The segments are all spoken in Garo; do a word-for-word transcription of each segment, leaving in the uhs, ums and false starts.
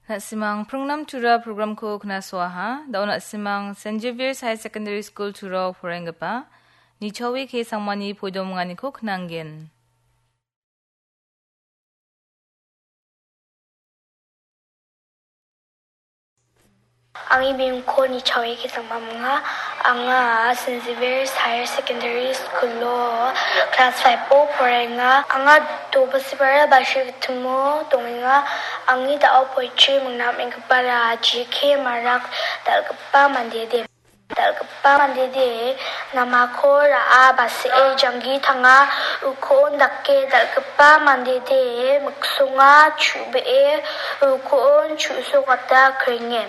Na·simang Pringnam Tura programko knasoaha. Da·o na·simang Saint Xavier's Higher Secondary School Turao poraienggipa Nichawi K Sangmani poidomonganiko knanggen. Angni bimingko Nichawi K Sangma ong·a. Anga Saint Xavier's Higher Secondary School-o class five-o poraienga. Anga Dobasibara Bashir Gitimo dongenga. Angni da·o poetry mingna am·enggipara G K Marak, dal·gipa mandede. Dal·gipa mandede namako ra·a, base·e janggi tanga, uko·on dake dal·gipa mandede miksonga chu·bee uko·on chu·sokata krenge.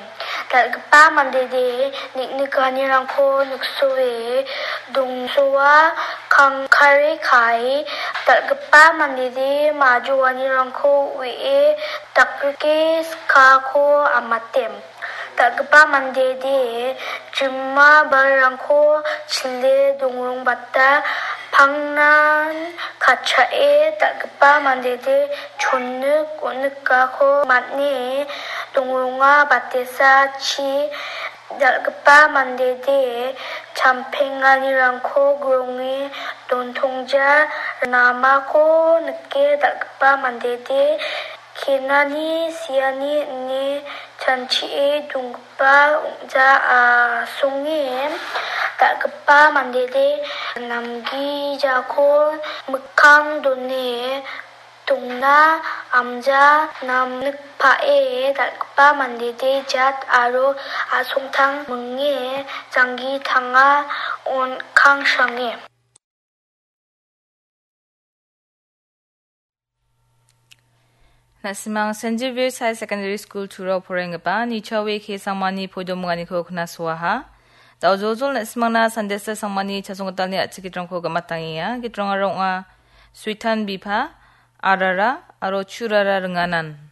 Dal·gipa mandede nik·nikanirangko niksoe dongsoa kangkare kae, dal·gipa mandede majoanirangko uie dakrike skako amate. Dal·gipa mandede jima balrangko chile dongrongbata pangnan katchae, dal·gipa mandede chonik on·ikako man·e dongronga batesa chi. Dal·gipa mandede champenganirangko gronge dontongja, namako nike dal·gipa mandede kenani siani ine chanchie donggipa ong·ja asonge. Dal·gipa mandede namgijako mikkang done dongna amja namnikpae, dal·gipa mandede jat aro a·songtang minge janggi tanga on·kangsange. Na·simang Saint Xavier's Higher Secondary School Turao poraienggipa Nichawi K Sangmani poidomonganiko knasoaha. Da·o joljol na·simangna Sunday School Sangmani chasonggitalni a·chik gitrangko gamatangenga. Gitrangara ong·a Suitan Bipha, Arara aro Churara Ringanan.